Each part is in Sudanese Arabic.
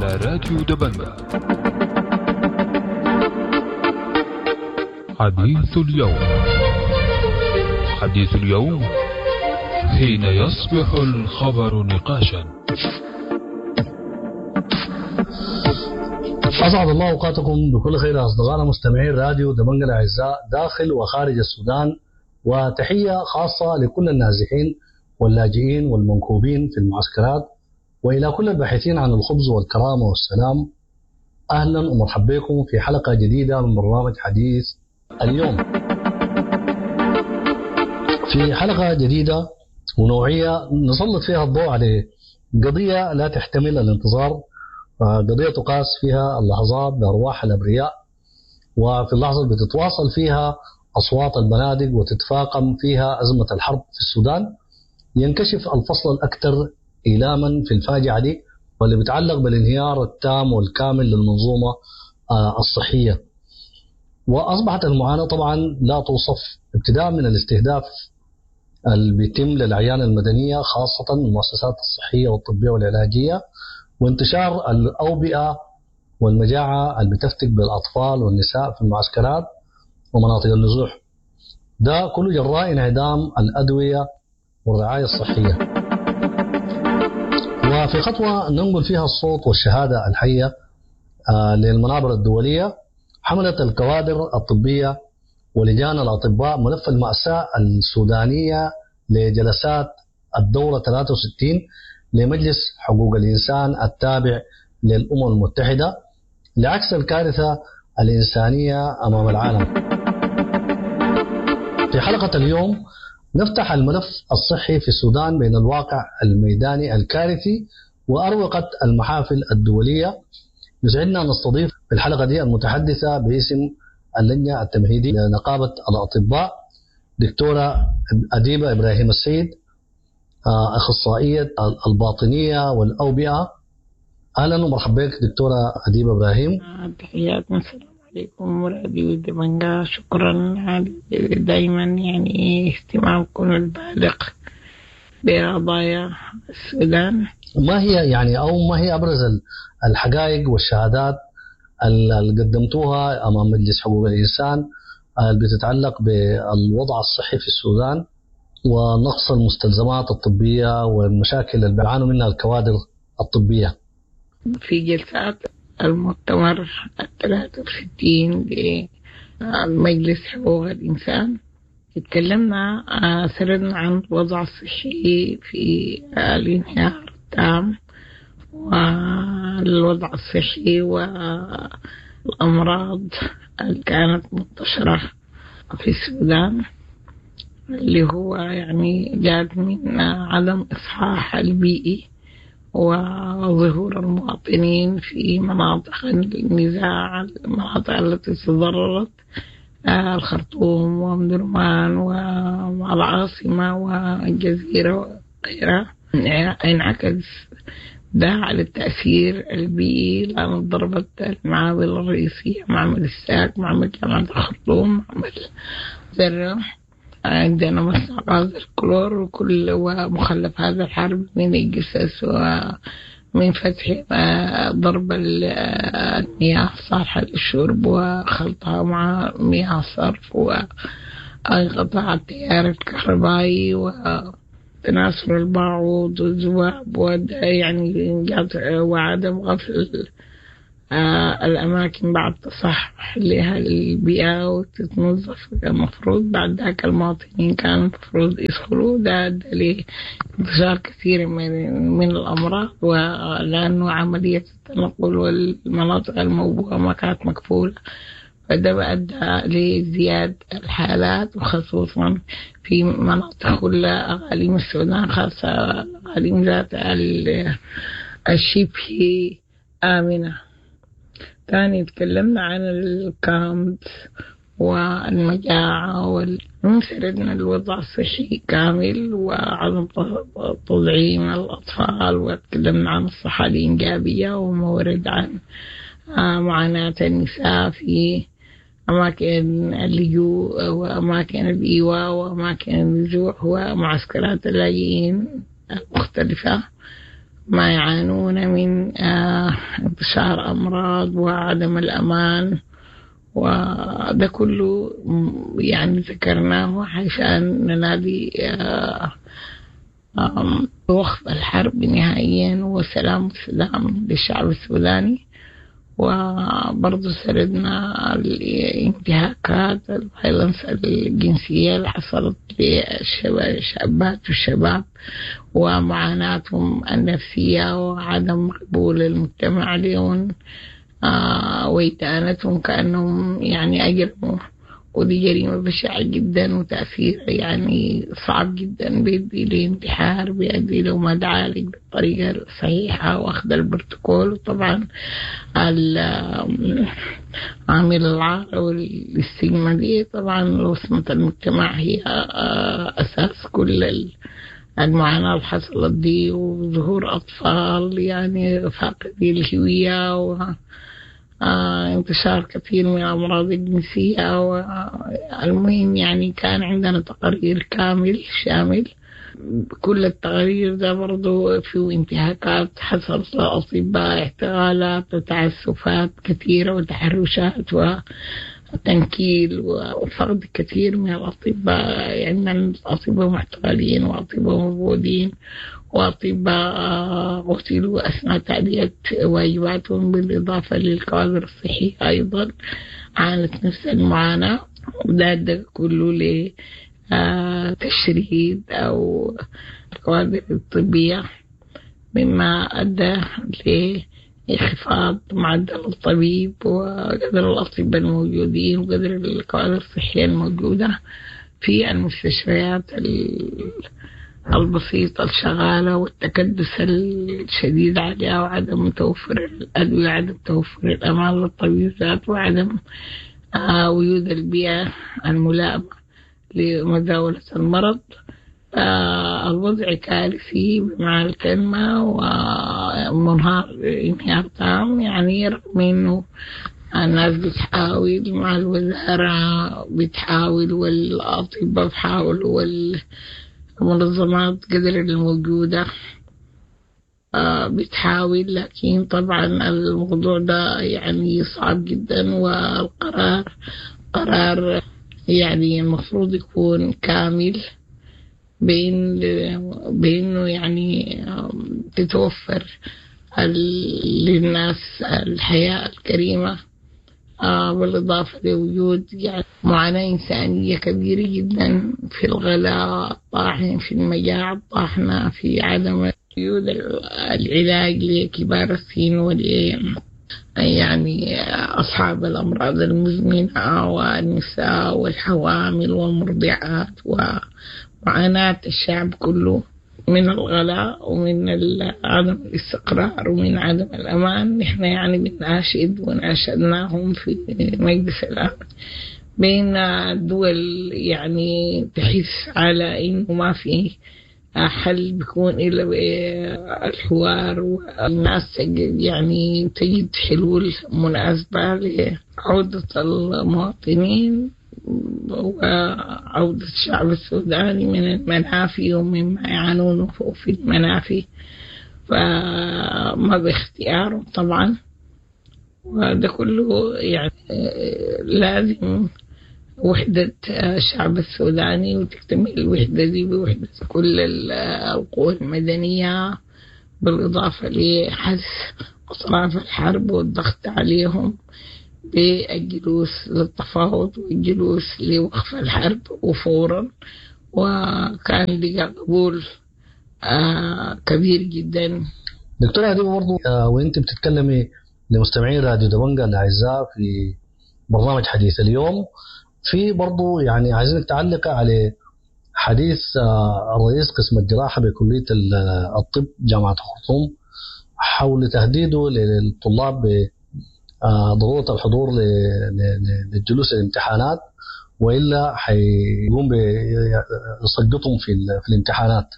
على راديو دبنجة. حديث اليوم، حديث اليوم حين يصبح الخبر نقاشا. أسعد الله أوقاتكم بكل خير أصدقائنا مستمعين راديو دبنجة الأعزاء داخل وخارج السودان، وتحية خاصة لكل النازحين واللاجئين والمنكوبين في المعسكرات، وإلى كل الباحثين عن الخبز والكرامة والسلام. أهلا ومرحبا بكم في حلقة جديدة من برنامج حديث اليوم. في حلقة جديدة ونوعية نسلط فيها الضوء على قضية لا تحتمل الانتظار، قضية تقاس فيها اللحظات بأرواح الأبرياء، وفي اللحظة اللي بتتواصل فيها أصوات البنادق وتتفاقم فيها أزمة الحرب في السودان، ينكشف الفصل الأكثر إيلاما في الفاجعة دي، واللي بيتعلق بالانهيار التام والكامل للمنظومة الصحية. وأصبحت المعاناة طبعا لا توصف، ابتداء من الاستهداف اللي بيتم للأعيان المدنية خاصة المؤسسات الصحية والطبية والعلاجية، وانتشار الأوبئة والمجاعة اللي بتفتك بالأطفال والنساء في المعسكرات ومناطق النزوح، ده كله جراء انعدام الأدوية والرعاية الصحية. وفي خطوة ننقل فيها الصوت والشهادة الحية للمنابر الدولية، حملت الكوادر الطبية ولجان الأطباء ملف المأساة السودانية لجلسات الدورة 63 لمجلس حقوق الإنسان التابع للأمم المتحدة لعكس الكارثة الإنسانية أمام العالم. في حلقة اليوم نفتح الملف الصحي في السودان بين الواقع الميداني الكارثي وأروقة المحافل الدولية. يسعدنا أن نستضيف في الحلقة دي المتحدثة باسم اللجنة التمهيدية لنقابة الأطباء دكتورة أديبة إبراهيم السيد، أخصائية الباطنية والأوبئة. أهلا ومرحبا بك دكتورة أديبة إبراهيم. تحياتنا، السلام عليكم وراديو دبنجة. شكرا دايما يعني اهتمامكم البالغ بقضايا السودان. ما هي يعني أو ما هي أبرز الحقائق والشهادات اللي قدمتوها أمام مجلس حقوق الإنسان اللي بتتعلق بالوضع الصحي في السودان ونقص المستلزمات الطبية والمشاكل اللي بيعانوا منها الكوادر الطبية؟ في جلسات المؤتمر 63 لمجلس حقوق الإنسان اتكلمنا سردنا عن الوضع الصحي في الانهيار التام والوضع الصحي والأمراض اللي كانت منتشرة في السودان، اللي هو يعني جاءت من عدم إصحاح البيئي وظهور المواطنين في مناطق النزاع، المناطق التي تضررت، الخرطوم وأم درمان والعاصمة والجزيرة وغيرها. انعكس ده على التأثير البيئي لأن ضربت المعامل الرئيسية، معمل الساك، معمل جامعة الخرطوم، معمل ذرة، عندنا مصنع غاز الكلور وكل ومخلف هذا الحرب من الجثث ومن فتح ضرب المياه الصالحة للشرب وخلطها مع مياه الصرف وانقطاع التيار الكهربائي وتناثر البعوض والذباب يعني وعدم غسل الأماكن بعد تصحح لها البيئة وتتنظف المفروض. بعد ذاك المواطنين كان المفروض يدخلوا، ده أدى لانتشار كثير من الأمراض، ولأنه عملية التنقل والمناطق الموبوءة ما كانت مكفولة، فده أدى لازدياد الحالات، وخصوصا في مناطق كل أقاليم السودان، خاصة أقاليم ذات الشبه آمنة. تاني تكلمنا عن الكامب والمجاعة وسردنا الوضع الصحي كامل وعدم تطعيم الأطفال، وتكلمنا عن الصحة الإنجابية وما ورد عن معاناة النساء في أماكن اللجوء وأماكن الإيواء وأماكن النزوح ومعسكرات اللاجئين المختلفة. ما يعانون من انتشار أمراض وعدم الأمان، وده كله يعني ذكرناه عشان ننادي وقف الحرب نهائيا وسلام سلام للشعب السوداني. وبرضه سردنا الانتهاكات ال violence الجنسية اللي حصلت للشابات والشباب ومعاناتهم النفسية وعدم قبول المجتمع لهم وإدانتهم كأنهم يعني أجرموا، ودي جريمة بشعة جدا وتأثير يعني صعب جدا، بيؤدي لانتحار، بيؤدي لو ما تعالج بالطريقة الصحيحة واخذ البروتوكول. وطبعا عامل العار والاستجمة دي طبعا وصمة المجتمع هي أساس كل المعاناة اللي حصلت دي، وظهور أطفال يعني فاقدي الهوية و انتشار كثير من الأمراض الجنسية. والمهم يعني كان عندنا تقرير كامل شامل، كل التقارير ده برضو فيه انتهاكات حصلت لأطباء، اعتقالات وتعسفات كثيرة وتحرشات وتنكيل وفقد كثير من الأطباء. عندنا أطباء معتقلين وأطباء موجودين وأطباء قتلوا أثناء تأدية واجباتهم، بالإضافة للكوادر الصحية أيضا عانت نفس المعاناة. وده كله لتشريد أو الكوادر الطبية، مما أدى لانخفاض معدل الطبيب وقدر الأطباء الموجودين وقدر الكوادر الصحية الموجودة في المستشفيات البسيطة الشغالة، والتكدس الشديد عليها، وعدم توفر الأدوية، عدم توفر الأمان للطبيب ذاته، وعدم وجود البيئة الملائمة لمزاولة المرض. الوضع كارثي بمعنى الكلمة ومنهار انهيار تام، يعني رغم إنه الناس بتحاول مع الوزارة بتحاول والأطباء بتحاول والمنظمات قدر الموجودة بتحاول، لكن طبعا الموضوع ده يعني صعب جدا، والقرار قرار يعني المفروض يكون كامل بإنه يعني تتوفر للناس الحياة الكريمة، بالإضافة لوجود يعني معاناة إنسانية كبيرة جدا في الغلاء الطاحن، في المجاعة الطاحنة، في عدم وجود العلاج لكبار السن وال يعني أصحاب الأمراض المزمنة والنساء والحوامل والمرضعات، ومعاناة الشعب كله من الغلاء ومن عدم الاستقرار ومن عدم الأمان. نحن يعني بنناشد وناشدناهم في مجلس الأمن بين الدول يعني تحس على إنه ما في حل بيكون إلا بالحوار، والناس يعني تجد حلول مناسبة لعودة المواطنين وعودة الشعب السوداني من المنافي ومما يعانونه في المنافي، فما باختيارهم طبعا. وده كله يعني لازم وحدة الشعب السوداني، وتكتمل الوحدة دي بوحدة كل القوى المدنية، بالإضافة لحث أطراف الحرب والضغط عليهم بالجلوس للتفاوض والجلوس لوقف الحرب وفورا. وكان لقى قبول كبير جدا. دكتورة هدي برضو وانت بتتكلمي لمستمعين راديو دبنجا الأعزاء في برنامج حديث اليوم، في برضو يعني عايزينك تعلق على حديث الرئيس قسم الجراحة بكلية الطب جامعة الخرطوم حول تهديده للطلاب بضرورة الحضور للجلوس للامتحانات، وإلا حيقوم بيسقطهم في الامتحانات.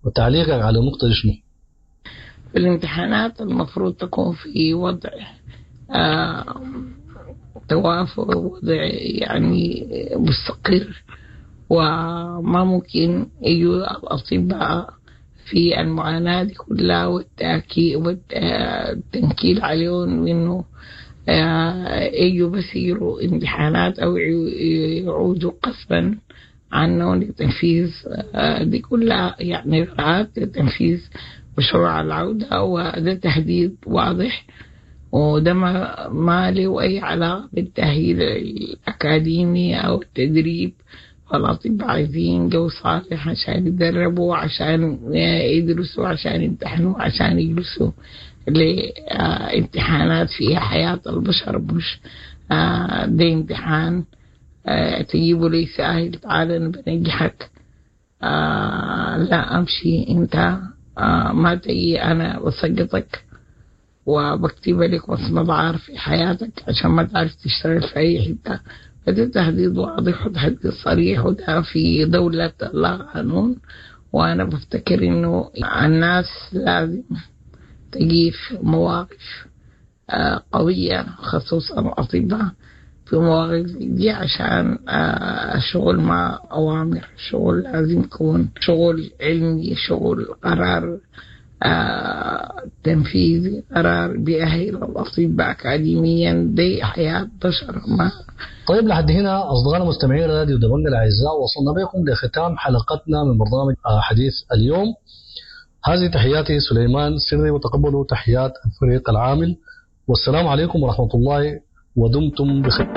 وتعليقك على النقطة دي شنو؟ الامتحانات المفروض تكون في وضع توافر، وضع يعني مستقر، وما ممكن يجوا الأطباء في المعاناة دي كلها والتنكيل عليهم إنه يجوا بس يجروا امتحانات أو يعودوا قسرا عنهم لتنفيذ دي كلها يعني إجراءات لتنفيذ مشروع العودة، وده تهديد واضح، وده ما له أي علاقة بالتأهيل الأكاديمي أو التدريب. الأطباء عايزين جو صالح عشان يتدربوا، عشان يدرسوا، عشان يمتحنوا، عشان يجلسوا لامتحانات فيها حياة البشر، مش ده امتحان تجيبوا لي ساهل تعال أنا بنجحك، لا أمشي أنت، ما تجي أنا بسقطك وبكتب لك وصمة عار في حياتك عشان ما تعرف تشتغل في أي حتة. فده تهديد واضح وتهديد صريح، وده في دولة لا قانون. وأنا بفتكر إنه الناس لازم تجيف مواقف قوية، خصوصا الأطباء في مواقف دي، عشان الشغل مع أوامر، شغل لازم يكون شغل علمي، شغل قرار تنفيذي، قرار بيأهل الأطباء أكاديميا، دي حياة بشر. ما طيب لحد هنا أصدقائنا مستمعين راديو دبنجة الأعزاء، وصلنا بكم لختام حلقتنا من برنامج حديث اليوم. هذه تحياتي سليمان سري، وتقبلوا تحيات الفريق العامل، والسلام عليكم ورحمة الله، ودمتم بخير.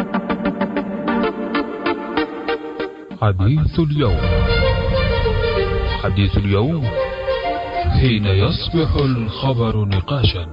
حديث اليوم، حديث اليوم حين يصبح الخبر نقاشا.